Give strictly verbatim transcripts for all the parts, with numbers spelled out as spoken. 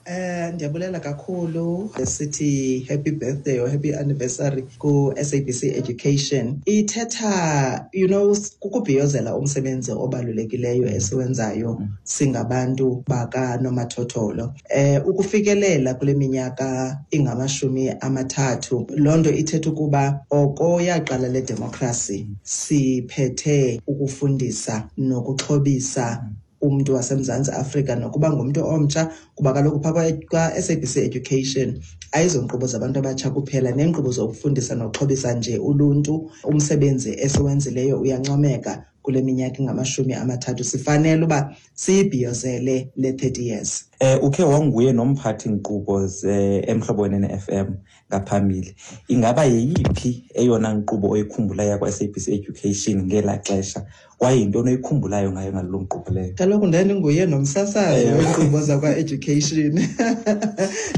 Eh ndiyabulela kakhulu, sithi happy birthday or happy anniversary ku S A B C Education. Ithetha you know kukubhiyozela umsebenzi obalulekileyo esiwenzayo singabantu bakanomathotholo. Eh ukufikelela kule minyaka ingamashumi amathathu, loo nto ithetha ukuba oko yaqala le democracy siphethe ukufundisa nokuxhobisa umntu waseMzantsi Afrika, nokuba ngumntu omtsha, kuba kaloku phaa kwa-S A B C Education ayizonkqubo zabantu abatsha kuphela, neenkqubo zokufundisa nokuxhobisa nje uluntu. Umsebenzi esiwenzileyo uyancomeka kule minyaka ingamashumi amathathu. Sifanele uba siyibhiyozele le thirty years. Eh ukhe wanguye nomphathi nkqubo ze Emhlobo Wenene F M ngaphambili. Ingaba yeyiphi eyona nkqubo oyikhumbulayo yakwa-S A B C Education ngelaa xesha, kwaye yintoni oyikhumbulayo ngayo ngaloo nkqubo leyo? Kaloku ndandinguye nomsasazi Ewe. weenkqubo zakwa-education.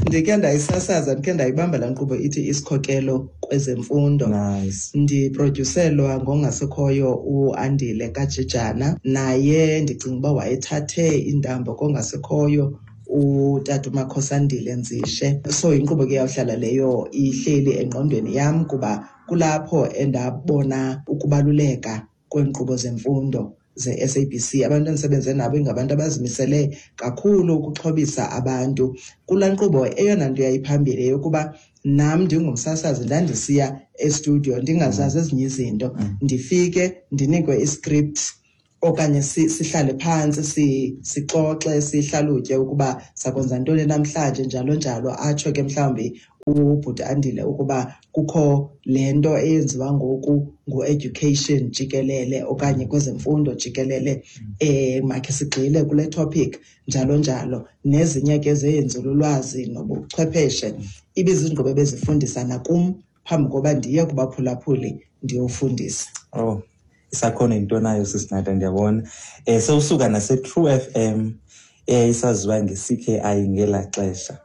Ndikhe ndayisasaza, ndikhe ndayibamba laa nkqubo ithi Isikhokelo Kwezemfundo. Nice. Ndiprodyuselwa ngongasekhoyo uAndile Kajijana, naye ndicinga uba wayethathe iintambo kongasekhoyo utata uMakhosandile Nzishe. So inkqubo ke yawuhlala leyo ihleli engqondweni yam, kuba kulapho endabona ukubaluleka kweenkqubo zemfundo ze-S A B C. Abantu endisebenze nabo ingabantu abazimisele kakhulu ukuxhobisa abantu. Kulaa nkqubo eyona nto yayiphambili yeyokuba nam ndingumsasazi ndandisiya estudiyo ndingazazi ezinye izinto, ndifike ndinikwe iscript okanye sihlale phantsi sixoxe, sihlalutye ukuba sakwenza ntoni namhlanje, njalo njalo. Atsho ke mhlawumbi ubhuti Andile ukuba kukho le nto eyenziwa ngoku ngu-education jikelele okanye kwezemfundo jikelele, eh makhe sigxile kule topic, njalo njalo. Nezinye ke zeenzululwazi nobuchwepheshe. Ibiziinkqubo ebezifundisa nakum phambi koba ndiye kubaphulaphuli ndiyofundisa. Oh, isakhono yinto nayo, Sisinata, ndiyabona. um sewusuka nase-True F M eyayisaziwa nge-C K I ngelaa xesha.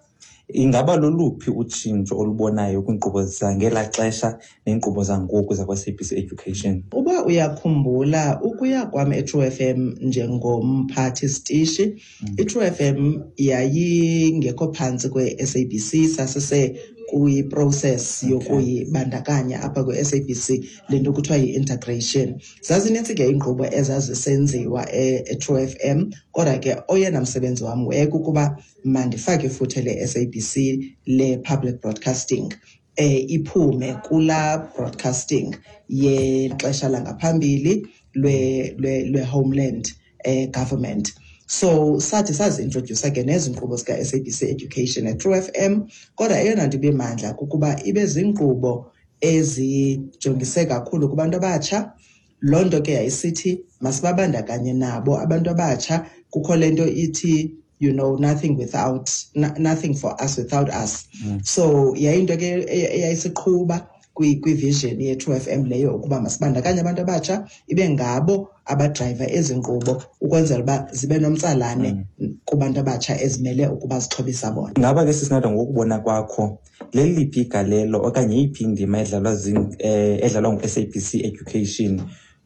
Ingaba loluphi utshintsho olubonayo kwiinkqubo zangelaa xesha neenkqubo zangoku zakwa-S A B C Education? Uba uyakhumbula, ukuya kwam e-True F M njengomphathi sitishi, mm. i-True F M yayingekho phantsi kwe-S A B C, sasise kwi-process yokuyibandakanya apha kwi-S A B C, le nto kuthiwa yi-integration. Zazinintsi ke iinkqubo ezazisenziwa e-True F M, kodwa ke oyena msebenzi wam wayekukuba mandifake ifuthe le-S A B C le-public broadcasting eh iphume kulaa broadcasting yexesha langaphambili lwe lwe-homeland eh government. So sathi sazi-introdyusa ke nezi nkqubo zika-S A B C Education e-True F M, kodwa eyona nto ibimandla kukuba ibe ziinkqubo ezijongise kakhulu kubantu abatsha. Loo nto ke yayisithi masibabandakanye nabo abantu abatsha. Kukho le nto ithi you know nothing without nothing for us without us mm. So yayinto ke eyayisiqhuba kwi-vision ye-True F M leyo, ukuba masibandakanye abantu abatsha, ibe ngabo abadrayiva ezi nkqubo ukwenzela uba zibe nomtsalane mm. kubantu abatsha ezimele ukuba zixhobisa bona. Ngaba ke, Sisinata, ngokubona kwakho leliphi igalelo okanye yeyiphi indima edlalwa eh, edlalwa ngu-S A B C Education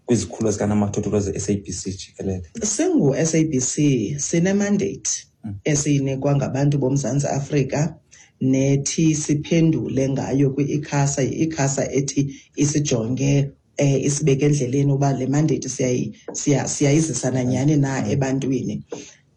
kwizikhululo zikanomathotholo ze-S A B C jikelele? Singu-S A B C sine-mandate esiyinikwa ngabantu boMzantsi Afrika nethi siphendule ngayo kwi-ICASA. Yi-ICASA ethi isijonge, eh isibeke endleleni uba le mandate siyayizisa nanyhani na ebantwini.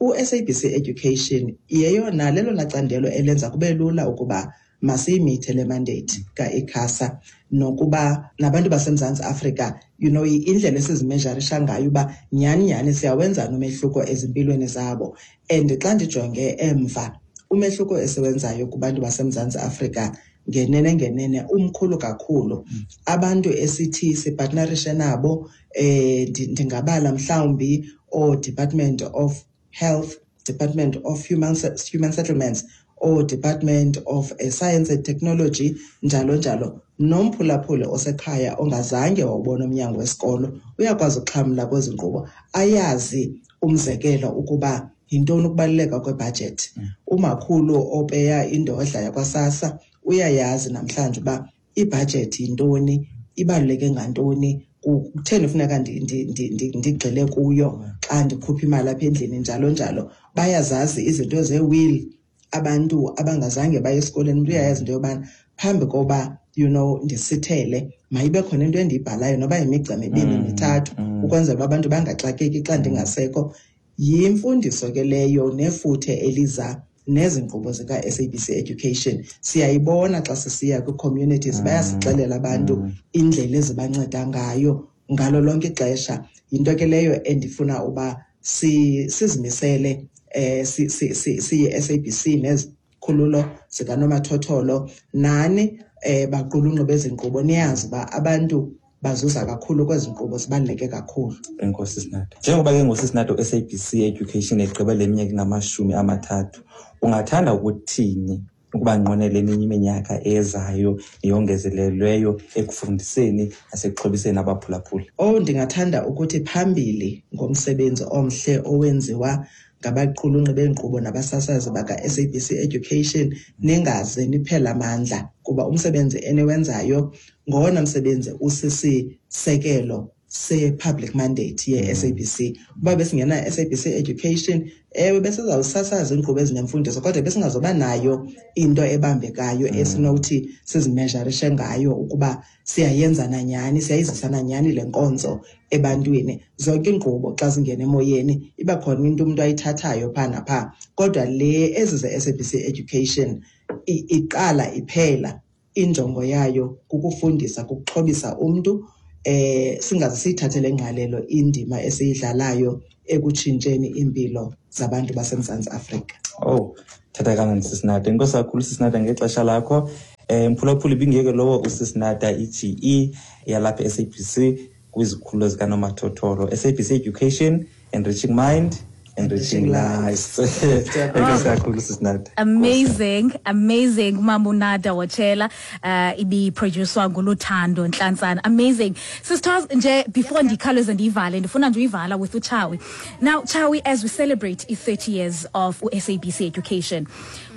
U-S A B C Education yeyona lelona candelo elenza kube lula ukuba masiyimithe le mandate ka-ICASA, nokuba nabantu baseMzantsi Afrika, you know indlela esizimeasurisha ngayo uba nyhani nyhani siyawenza umehluko ezimpilweni zabo. And xa ndijonge emva, umehluko esiwenzayo kubantu baseMzantsi Afrika ngenene ngenene umkhulu kakhulu. Abantu esithi sipartnerishe nabo, eh ndingabala mhlawumbi oo-Department of Health, Department of Human, Human Settlements, oo-Department of Science and Technology, njalo njalo. Nomphulaphuli osekhaya ongazange wawubona umnyango wesikolo uyakwazi ukuxhamla kwezi nkqubo, ayazi umzekelo ukuba yintoni ukubaluleka kwebhajethi. Umakhulu opeya indodla yakwaSASSA uyayazi namhlanje uba ibhajethi yintoni, ibaluleke ngantoni, kutheni funeka ndigxile kuyo xa ndikhupha imali apha endlini, njalo njalo. Bayazazi izinto zee-will. Abantu abangazange baye esikolweni, umntu uyayazi into yobana phambi koba you know ndisithele mayibe khona into endiyibhalayo noba yimigca mibini Mm, mithathu mm. ukwenzela uba abantu bangaxakeki xa ndingasekho. Yimfundiso ke leyo nefuthe eliza nezi nkqubo zika-S A B C Education. Siyayibona xa sisiya kwii-communities, Mm, bayasixelela abantu mm. indlela ezibanceda ngayo ngalo lonke ixesha. Yinto ke leyo endifuna uba si-, sizimisele, eh, si-, si-, si-, siyi-S A B C nezikhululo zikanomathotholo nani, eh, baqulunqi bezinkqubo, niyazi uba abantu bazuza kakhulu kwezi nkqubo, zibaluleke kakhulu. Enkosi Sinado. Njengoba ke ngoku Sinado S A B C Education egqiba le minyaka ingamashumi amathathu, ungathanda ukuthini ukuba nqwenele eminye iminyaka ezayo neyongezelelweyo ekufundiseni nasekuxhobiseni abaphulaphuli? Oh, ndingathanda ukuthi phambili ngomsebenzi omhle owenziwa ngabaqulunqi beenkqubo nabasasazi baka-S A B C Education, ningaze niphele amandla, kuba umsebenzi eniwenzayo ngowona msebenzi usisisekelo se-public mandate ye-S A B C. Uba besingena S A B C Education, ewe, besizawusasaza iinkqubo ezinemfundiso, kodwa besingazoba nayo into ebambekayo Mm. esinokuthi sizimeasurishe ngayo ukuba siyayenza na nyhani, siyayizisa na nyhani le nkonzo ebantwini. Zonke iinkqubo xa zingena emoyeni iba khona into umntu ayithathayo phaa naphaa, kodwa le ezi ze-S A B C Education i-, iqala iphela injongo yayo kukufundisa, kukuxhobisa umntu. Eh, singaze siyithathele ingqalelo indima esiyidlalayo ekutshintsheni iimpilo zabantu baseMzantsi Afrika. Oh, thatha kamnandi Sisinada. Enkosi kakhulu Sisinada ngexesha lakho. Eh, mphulaphuli ibingeke lowo uSisinada I G E yalapha S A B C kwizikhululo zikanomathotholo. S A B C Education, enriching mind, enriching Enriching lives. lives. Enkosi kakhulu Sisinada. Amazing, amazing Mamunada Wotshela, uh, ibi-producwa nguLuthando Nhlantsana. Amazing. Sisters, nje before ndikhawuleze ndiyivale, ndifuna nje uyivala with uChawi. Now Chawi, as we celebrate i thirty years of U S A B C Education,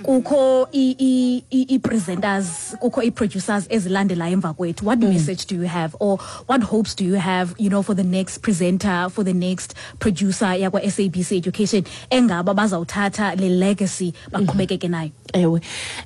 kukho i, i, i, i-presenters, kukho i-producers ezilandelayo emva kwethu. What Mm. message do you have, or what hopes do you have, you know, for the next presenter, for the next producer yakwa S A B C Education engaba bazawuthatha le legacy baqhubekeke nayo? Ewe.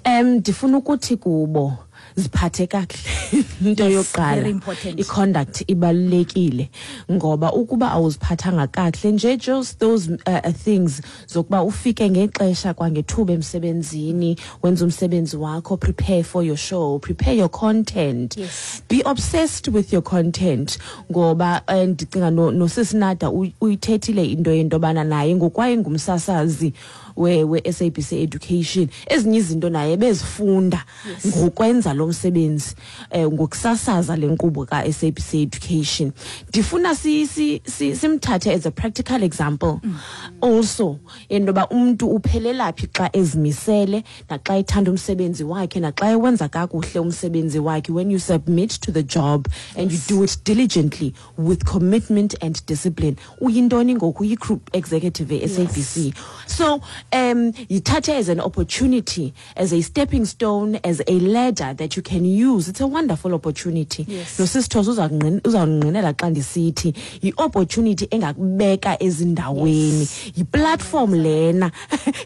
Em, ndifuna ukuthi kubo ziphathe kakuhle. Into Yes, yokuqala, very important. i-conduct ibalulekile, ngoba ukuba awuziphathanga kakuhle nje, just those, uh, uh, things zokuba ufike ngexesha kwangethuba emsebenzini, wenze umsebenzi wakho, prepare for your show, prepare your content. Yes. Be obsessed with your content, ngoba, eh, ndicinga no, noSisinada uy-, uyithethile into yentobana naye ngokwaye ngumsasazi we, we S A B C Education, ezinye izinto naye bezifunda Yes. ngokwenza lo msebenzi, eh, ngokusasaza le nkqubo ka S A B C Education. Ndifuna si, si, si, simthathe as a practical example Mm. also into yoba umntu uphelela phi xa ezimisele naxa ethanda umsebenzi wakhe naxa ewenza kakuhle umsebenzi wakhe. When you submit to the job and you Yes. do it diligently with commitment and discipline, uyintoni ngoku? Uyi-group executive e-S A B C. Yes. So um, yithathe as an opportunity, as a stepping stone, as a ladder that you can use. It's a wonderful opportunity. Yes. Nosisithozo uzakungqin-, uzawungqinela xa ndisithi yi-opportunity engakubeka ezindaweni. Yes. Yi-platform lena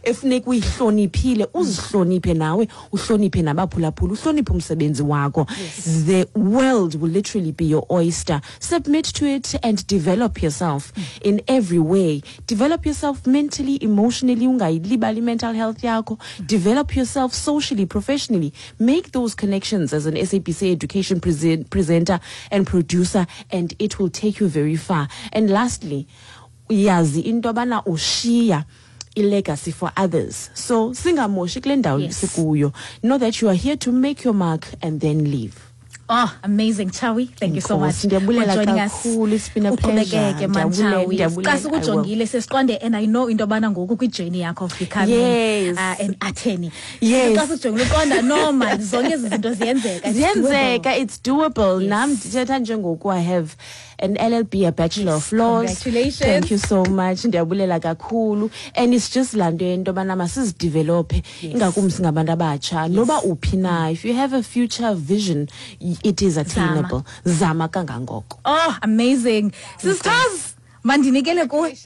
efuneka uyihloniphile, uzihloniphe nawe, uhloniphe nabaphulaphuli, uhloniphe umsebenzi wakho. Yes. The world will literally be your oyster. Submit to it and develop yourself Mm. in every way. Develop yourself mentally, emotionally, ungayilibali mental health yakho. Develop yourself socially, professionally. Make those connections as an S A B C Education present, presenter and producer, and it will take you very far. And lastly, yazi into yobana ushiya i-legacy for others. So singamoshi kule ndawo Yes. sikuyo. Know that you are here to make your mark and then leave. Oh, amazing, Chawi. Thank you so much Enkosi, ndiyabulela for joining us. kakhulu. It's been a pleasure. Uqhubekeke, man, Ndiyabulela, Chawi. ndiyabulela. Xa sikujongile, sesiqonde, and I know into yobana ngoku kwi-journey yakho of becoming, Yes. uh, an attorney. Yes. Xa sikujongile, uqonda, no, man, zonke ezi zinto ziyenzeka. It's Ziyenzeka, doable. it's doable. Yes. Nam ndithetha njengoku, I have an L L B, a Bachelor Yes. of Laws. Congratulations. Thank you so much. Ndiyabulela kakhulu. And it's just laa nto yento yobana masizidevelophe, Yes. ingakumbi singabantu abatsha. Yes. Noba uphi na, if you have a future vision, it is attainable. Zama. Zama kangangoko. Oh, amazing. Sisters, mandinikele kuwe.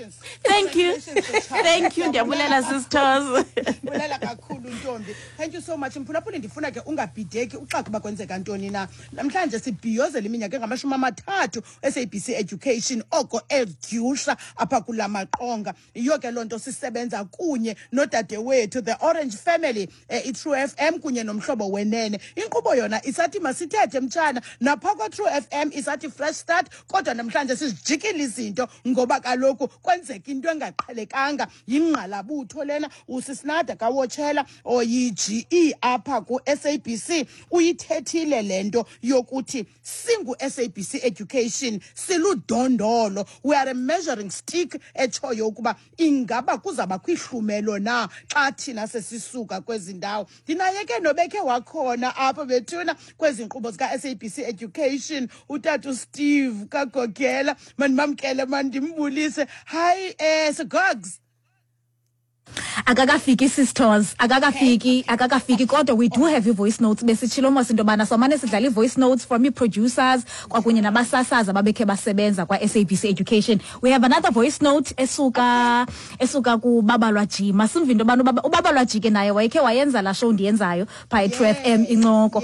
Thank you. Congratulations, Thank you. Ndiyabulela, sisters. Ndiyabulela kakhulu. ntombi. Thank you so much. Mphulaphuli, ndifuna ke ungabhideki uxaka uba kwenzeka ntoni na. Namhlanje sibhiyozela iminyaka engamashumi amathathu S A B C Education oko edyusha apha kula maqonga. Yiyo ke loo nto sisebenza kunye nodadewethu, the Orange Family, eh, i-True F M kunye noMhlobo Wenene. Inkqubo yona isathi Masithethe mtshana, napha kwa-True F M isathi Fresh Start, kodwa namhlanje sizijikile izinto ngoba kaloku kwenzeka into engaqhelekanga. Yingqalabutho lena. Usisinada kawotshela oyi-G E apha ku-S A B C uyithethile le nto yokuthi singu-S A B C Education siludondolo, we are a measuring stick etshoyo ukuba ingaba kuzawubakho ihlumelo na xa thina sesisuka kwezi ndawo. Ndinaye ke nobekhe wakhona apha bethuna kwezi nkqubo zika-S A B C Education, utata uSteve Kagogela. Mandimamkele, mandimbulise. Hayi, um Sigogs. Akakafiki, sisters, akakafiki, akakafiki, kodwa we do have i-voice notes. Besitshilo mos into yobana somane sidlala i-voice notes from ii-producers kwakunye nabasasazi ababekhe basebenza kwa-S A B C Education. We have another voice note esuka esuka kuBabalwa G. Masimve into yobana ubaba- uBabalwa G ke naye wayekhe wayenza laa show ndiyenzayo phaa e-True F M, Incoko.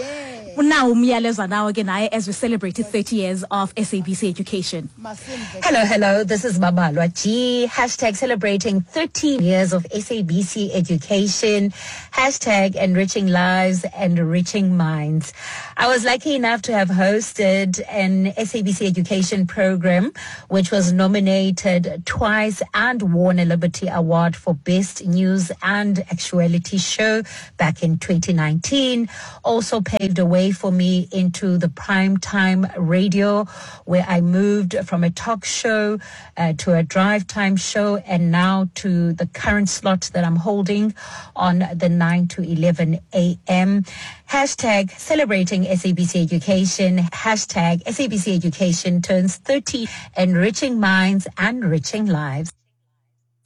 Unawo umyalezo nawo ke naye as we celebrate thirty years of S A B C Education. Masimve. Hello, hello. This is Babalwa G. Hashtag celebrating thirty years of S A B C Education. Hashtag enriching lives and enriching minds. I was lucky enough to have hosted an S A B C Education program, which was nominated twice and won a Liberty Award for Best News and Actuality Show back in twenty nineteen. Also paved the way for me into the prime time radio, where I moved from a talk show uh, to a drive time show and now to the current slot that I'm holding on the nine to eleven a m. Hashtag celebrating S A B C Education. Hashtag S A B C Education turns thirty, enriching minds and enriching lives.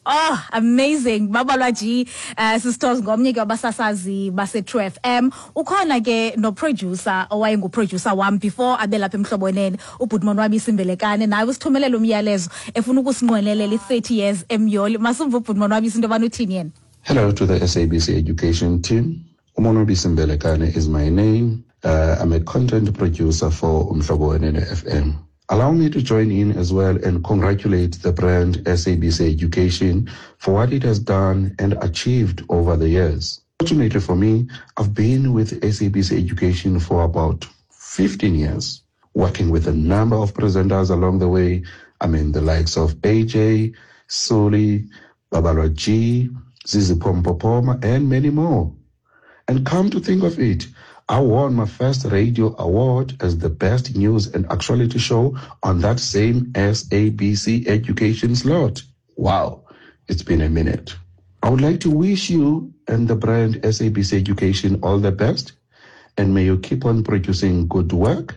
Oh, amazing. Babalwa G, uh, sisters, ngomnye ke wabasasazi base True F M. Ukhona ke no producer owayengu producer wam before abe lapha eMhlobo Wenene, ubhuti Monwabisi Mbelekane, naye usithumelela umyalezo efuna ukusinqwenelela i-thirty years emyoli. Masumva ubhuti Monwabisi into yobana uthini yena. Hello to the S A B C Education team. Umonwabisi Mbelekane is my name. Uh, I'm a content producer for Umhlobo Wenene F M. Allow me to join in as well and congratulate the brand S A B C Education for what it has done and achieved over the years. Fortunately for me, I've been with S A B C Education for about fifteen years, working with a number of presenters along the way. I mean, the likes of A J, Suli, Babalwa G, Zizi Pompopoma, and many more. And come to think of it, I won my first radio award as the best news and actuality show on that same S A B C Education slot. Wow, it's been a minute. I would like to wish you and the brand S A B C Education all the best, and may you keep on producing good work,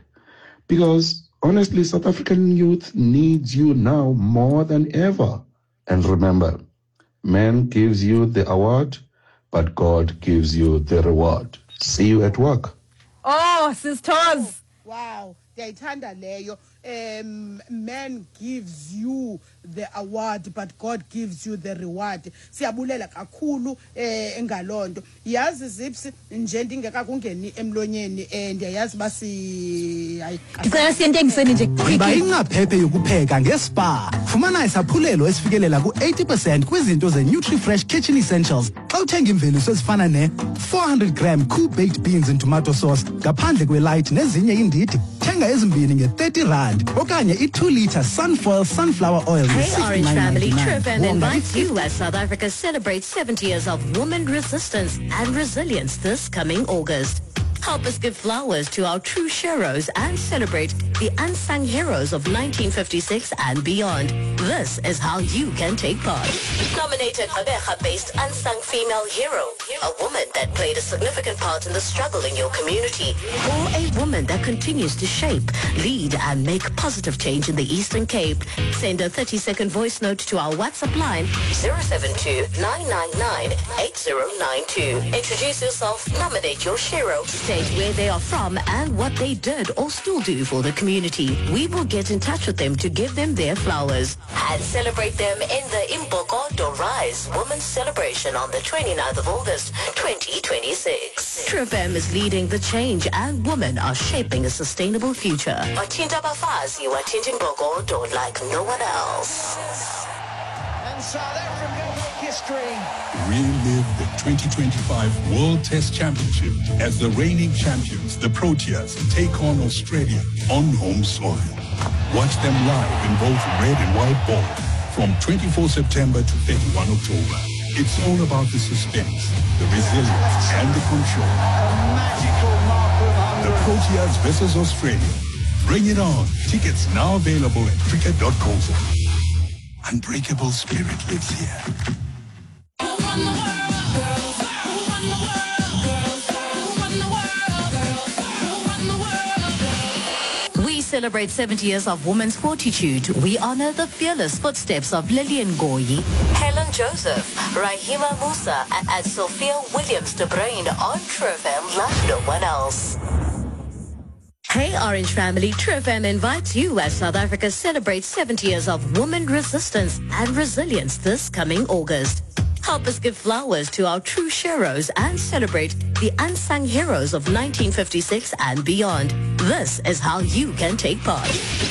because honestly, South African youth needs you now more than ever. And remember, man gives you the award, but God gives you the reward. See you at work. Oh, sisters. Wow, ndiyayithanda leyo. um man gives you the award, but God gives you the reward. Siyabulela kakhulu eh ngalonto. Yazi Zips, nje ndingekakungeni emlonyeni, eh ndiyayazi basi hayi. Ndicela siye entengisweni nje Yiba quickly. Ingcaphephe yokupheka ngeSpar. Fumana isaphulelo esifikelela ku-eighty percent kwizinto ze-Nutrifresh Kitchen Essentials xa uthenga iimveliso ezifana ne-four hundred gram Cool Baked Beans and Tomato Sauce ngaphandle kwe-light nezinye iindidi. Thenga ezimbini nge-thirty rand okanye i-two litre Sunfoil Sunflower Oil Hey Orange family, True F M nge-sixty-nine ninety-nine. Wonga invites you as South Africa celebrates seventy years of woman resistance and resilience this coming August. Help us give flowers to our true heroes and celebrate the unsung heroes of nineteen fifty-six and beyond. This is how you can take part. Nominate a Gqeberha-based unsung female hero, a woman that played a significant part in the struggle in your community, or a woman that continues to shape, lead, and make positive change in the Eastern Cape. Send a thirty-second voice note to our WhatsApp line zero seven two nine nine nine eight zero nine two. Introduce yourself, nominate your hero, state where they are from and what they did or still do for the community. community. We will get in touch with them to give them their flowers and celebrate them in the Imbokodo Rise Women's Celebration on the twenty-ninth of August, twenty twenty-six. True F M is leading the change and women are shaping a sustainable future. Wathinta abafazi, wathinta imbokodo like no one else. And South Africa make history. Relive the twenty twenty-five World Test Championship as the reigning champions, the Proteas, take on Australia on home soil. Watch them live in both red and white ball from twenty-fourth September to thirty-first October. It's all about the suspense, the resilience, and the control. The Proteas versus Australia. Bring it on. Tickets now available at cricket dot co. Unbreakable spirit lives here. We celebrate seventy years of women's fortitude. We honor the fearless footsteps of Lillian Goyi, Helen Joseph, Rahima Musa, and Sophia Williams de Bruyn on True F M like no one else. Hey Orange Family, True F M invites you as South Africa celebrates seventy years of women resistance and resilience this coming August. Help us give flowers to our true heroes and celebrate the unsung heroes of nineteen fifty-six and beyond. This is how you can take part.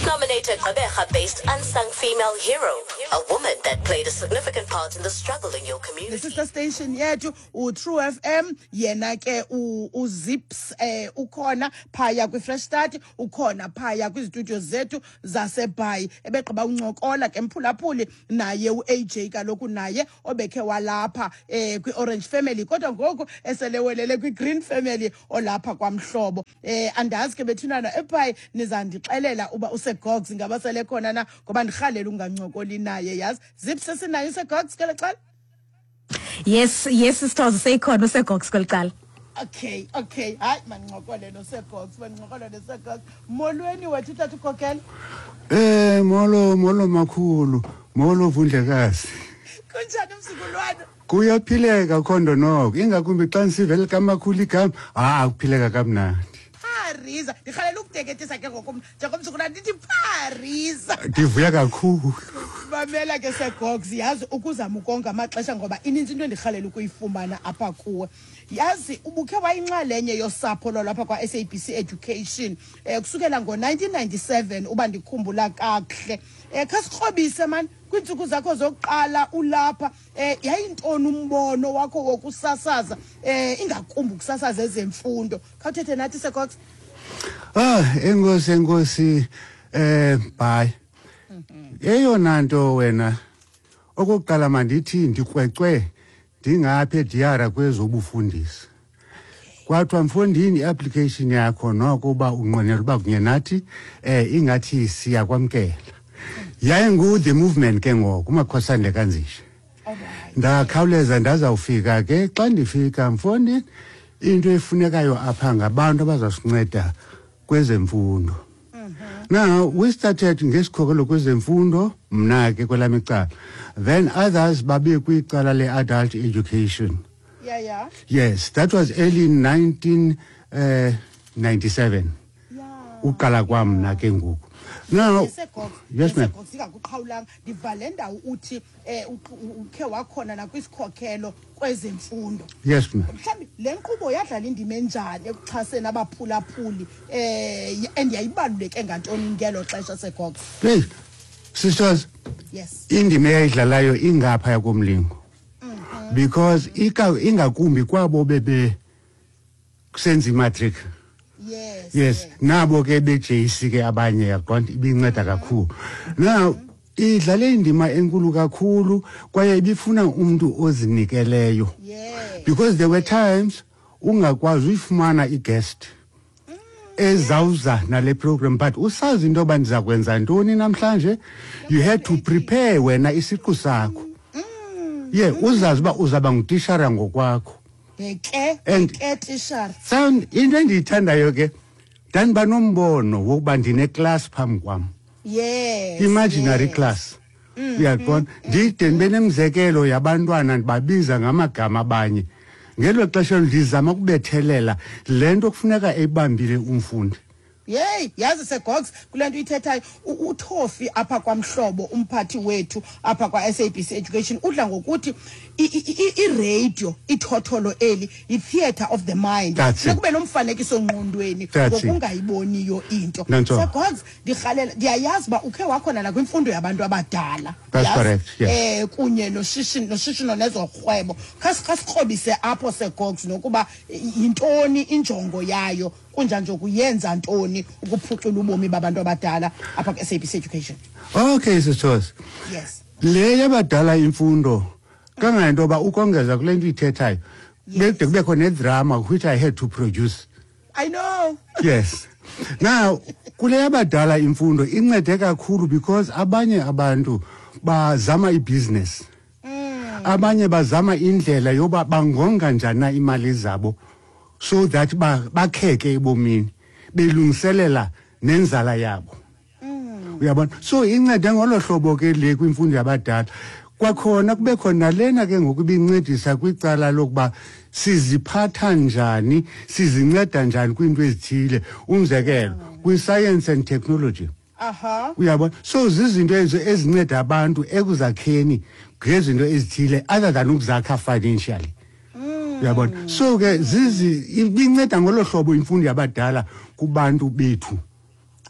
Nominate a Gqeberha-based unsung female hero, a woman that played a significant part in the struggle in your community. The sister station yethu u-True F M, yena ke u-Zips eh ukhona phaya kwi-Fresh Start, ukhona phaya kwistudio zethu zaseBhayi. Ebegqiba uncokola ke mphulaphuli naye u-A J kaloku naye obekhe walapha eh kwi-Orange Family, kodwa ngoku eselewelele kwi-Green Family olapha kwamhlobo. Eh andazi ke bethunana eBhayi nizandixelela uba useGogs ingaba sele khona na, ngoba ndirhalela ungancokoli naye. Yazi Zips sesinayo useGogs kweli cala? Yes, yes sisters, seyikhona useGogs kweli cala. Okay, okay. Hayi mandincokole noseGogs, mandincokole noseGogs. Molweni wethu tata uKhokela. Eh molo molo makhulu, molo Vundlekazi. Kunjani mzukulwana? Kuyaphileka khondo noko, ingakumbi xa nisivele kamakhulu igama, ah akuphileka kamnandi. Parisa, ndirhalela ukuteketisa ke ngoku njengomzukulwana ndithi Parisa. Ndivuya kakhulu. Mamela ke seGogs, yazi ukuzama ukonga amaxesha ngoba ininzi into endirhalela ukuyifumana apha kuwe. Yazi ubukhe wayinxalenye yosapho lwalapha kwa-S A B C Education eh kusukela ngo nineteen ninety-seven uba ndikhumbula kakuhle. Eh khasikrobise man kwiintsuku zakho zokuqala ulapha, eh yayintoni umbono wakho wokusasaza eh ingakumbi ukusasaza ezemfundo? Khawuthethe nathi seGogs. Ah enkosi enkosi eh bye. Eyona nto wena okokuqala mandithi ndikrwecwe ndingapha ediyara kwezobufundisi. Kwathiwa mfondini i-application yakho noko uba unqwenela uba kunye nathi eh ingathi siyakwamkela. Yayingu the movement ke ngoku uMakhosane kaNzishe. Ndakhawuleza ndazawufika ke, xa ndifika mfondini into efunekayo apha ngabantu abazasinceda kwezemfundo. Now we started ngesikhokelo kwezemfundo, mna ke kwelami icala. Then others babe kwicala le-adult education. Yeah, yeah. Yes, that was early nineteen ninety-seven. Yeah. Uqala kwam mna ke ngoku. Now, yes ma'am. Singakuqhawulanga ndivale ndawo uthi eh ukhe wakhona nakwisikhokhelo kwezemfundo. Yes ma'am. Mhlawumbi le nkqubo yadlala indima enjani ekuxhaseni abaphulaphuli eh and yayibaluleke ngantoni ngelo xesha seGogs? Hey sisters. Yes. Indima eyayidlalayo ingapha komlingo. Because ingakumbi kwabo bebe kusenza imatric. Yes. Yes, nabo ke be J C ke abanye yaqonda ibinceda kakhulu. Now idlale indima enkulu kakhulu kwaye ibifuna umuntu ozinikeleyo. Yes. Because there were times ungakwazi uyifumana i-guest ezawuza nale program, but usazi into yoba ndiza kwenza ntoni namhlanje, you had to prepare wena isiqu sakho. Yeah, uzazi uba uzaba ngutishara ngokwakho. Bheke, And- ke tishara. Sound into endiyithandayo ke, ndandiba nombono wokuba ndine-class phambi kwam. Yes. Imaginary yes. class. Uyaqonda? Ndide ndibe nemizekelo yabantwana ndibabiza ngamagama abanye. Ngelo xesha ndizama ukubethelela le nto kufuneka eyibambile umfundi. Yeyi, yazi Segogs, kule nto ithethayo uThofi apha kwamhlobo umphathi wethu apha kwa-S A B C Education udla ngokuthi i-radio ithotholo eli yi-theatre of the mind. Kube nomfanekiso ngqondweni ngokungayiboniyo into. Segogs, ndirhalela ndiyayazi uba ukhe wakhona nakwimfundo yabantu abadala. That's correct. Yes. Eh kunye noshishino noshishino nezorhwebo. Khasikrobise apho Segogs nokuba yintoni injongo yayo kunjani ukuyenza ntoni ukuphucula ubomi babantu abadala apha ku-S A B C Education. Okay, sisters. Yes. Le yabadala imfundo kangento ba ukongeza kule nto ithethayo bekude kubekho nedrama which I had to produce. I know. Yes. Now kule yabadala imfundo incede kakhulu because abanye abantu bazama ibusiness. Mm. Abanye bazama indlela yoba bangonga njani imali zabo so that bakheke ebomini belungiselela nenzala yabo. Mm. Uyabona? So incede ngolo hlobo ke le kwimfundo yabadala. Kwakhona kube khona lena ke ngokubincedisa kwicala lokuba siziphatha njani, sizinceda njani kwinto ezithile, umzekelo kwi-science and technology. Aha. Uyabona? So zizinto ezo ezinceda abantu ekuzakheni ngezinto ezithile other than ukuzakha financially. Uyabona? So ke zizi ibinceda ngolo hlobo imfundo yabadala kubantu bethu.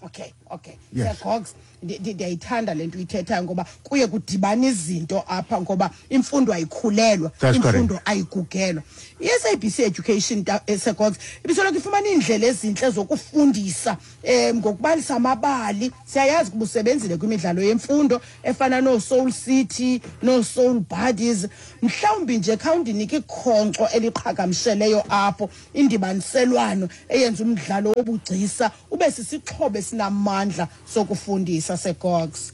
Okay, okay. Yes. Segogs, ndiyayithanda le nto uyithethayo ngoba kuye kudibana izinto apha ngoba imfundo ayikhulelwa, imfundo ayigugelwa. I-S A B C Education Segogs ibisoloko ifumana iindlela ezintle zokufundisa um ngokubalisa amabali. Siyayazi kuba usebenzile kwimidlalo yemfundo efana nooSoul City, nooSoul Buddies. Mhlawumbi nje khawundinike ikhonkco eliqhagamsheleyo apho, indibaniselwano eyenza umdlalo wobugcisa ube sisixhobo esinamandla sokufundisa Segogs.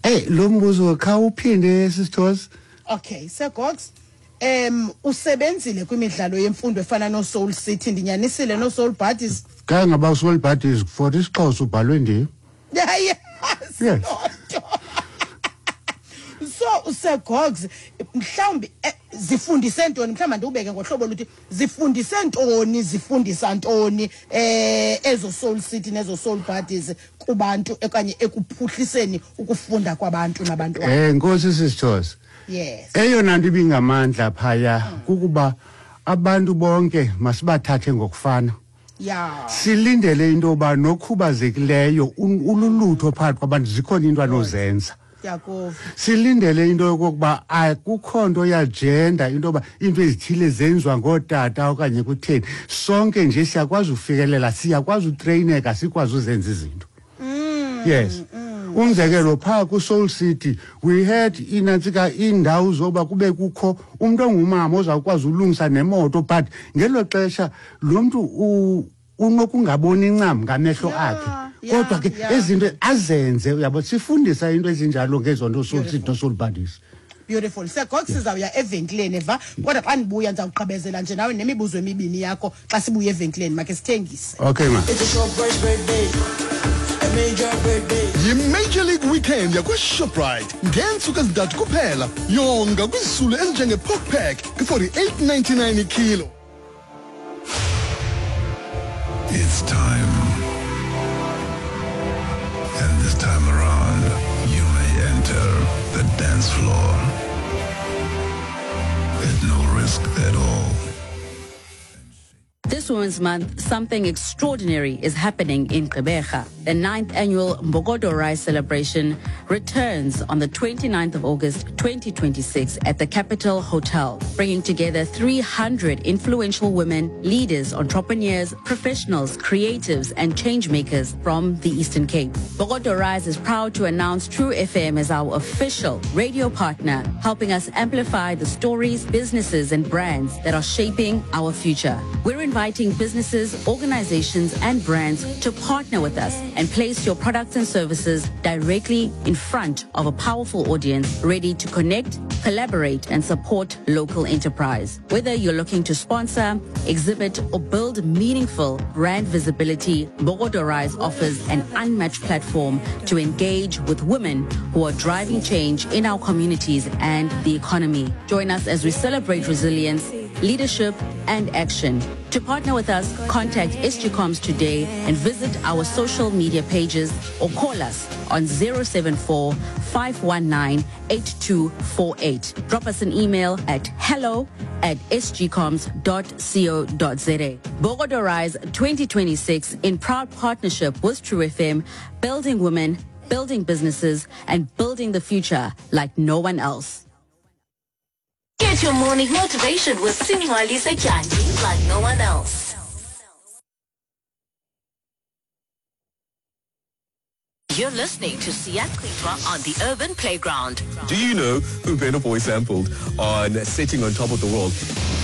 Hey, lo mbuzo khawuphinde sisters. Okay, Segogs, um usebenzile kwimidlalo yemfundo efana noSoul City, ndinyanisile noSoul Buddies. Kangaba Soul Buddies for isiXhosa ubhalwe ndim. Yes. Yes. So Segogs, mhlawumbi zifundise ntoni, mhlawumbi ndiubeke ngohlobo luthi zifundise ntoni, zifundisa ntoni eh ezo Soul City nezo Soul Buddies kubantu okanye ekuphuhliseni ukufunda kwabantu nabantwana. Eh Nkosi sisters. Yes. Eyona nto ibingamandla phaya kukuba abantu bonke masibathathe ngokufana. Yeah. Silindele into yoba nokhubazekileyo ululutho phakathi kwabantu zikhona into anozenza. Yakuva. Silindele into yokokuba akukho nto yagender, into yoba into ezithile zenziwa ngootata okanye kutheni. Sonke nje siyakwazi ufikelela, siyakwazi utreyineka, sikwazi uzenza izinto. Mm, Yes. Mm. Umzekelo phaa ku-Soul City we had inantsika iindawo zoba kube kukho umntu ongumama ozawukwazi ulungisa nemoto, but ngelo xesha lo mntu unokungaboni ncam ngamehlo akhe. Kodwa ke ezinto azenze, uyabo, sifundisa into ezinjalo ngezonto Soul City noSoul Buddies. Beautiful. Segogs, sizawuya evenkileni eva, kodwa xa ndibuya ndizawugqibezela nje nawe nemibuzo emibini yakho xa sibuya evenkileni, makhe sithengise. Okay ma. It's a Shoprite birthday. A major birthday. Yi-Major League Weekend yakwa-Shoprite ngeentsuku ezintathu kuphela. Yonga kwizisulu ezinjenge-pork pack kwi-forty-eight ninety-nine ikilo. It's time. And this time around, you may enter the dance floor at no risk at all. This Women's Month, something extraordinary is happening in Gqeberha. The ninth annual Mbokodo Rise celebration returns on the twenty-ninth of August, twenty twenty-six at the Capital Hotel, bringing together three hundred influential women, leaders, entrepreneurs, professionals, creatives, and changemakers from the Eastern Cape. Mbokodo Rise is proud to announce True F M as our official radio partner, helping us amplify the stories, businesses, and brands that are shaping our future. We're inviting businesses, organizations, and brands to partner with us and place your products and services directly in front of a powerful audience ready to connect, collaborate, and support local enterprise. Whether you're looking to sponsor, exhibit, or build meaningful brand visibility, Mbokodo Rise offers an unmatched platform to engage with women who are driving change in our communities and the economy. Join us as we celebrate resilience, leadership, and action. To partner with us, contact S G Comms today and visit our social media pages or call us on zero seven four, five one nine, eight two four eight. Drop us an email at hello at s g comms dot co dot za. Bogodo Rise twenty twenty-six in proud partnership with True F M, building women, building businesses, and building the future like no one else. Get your morning motivation with Singwali Setyandi like no one else. You're listening to Siyachithwa on the Urban Playground. Do you know who Burna Boy sampled on Sitting on Top of the World?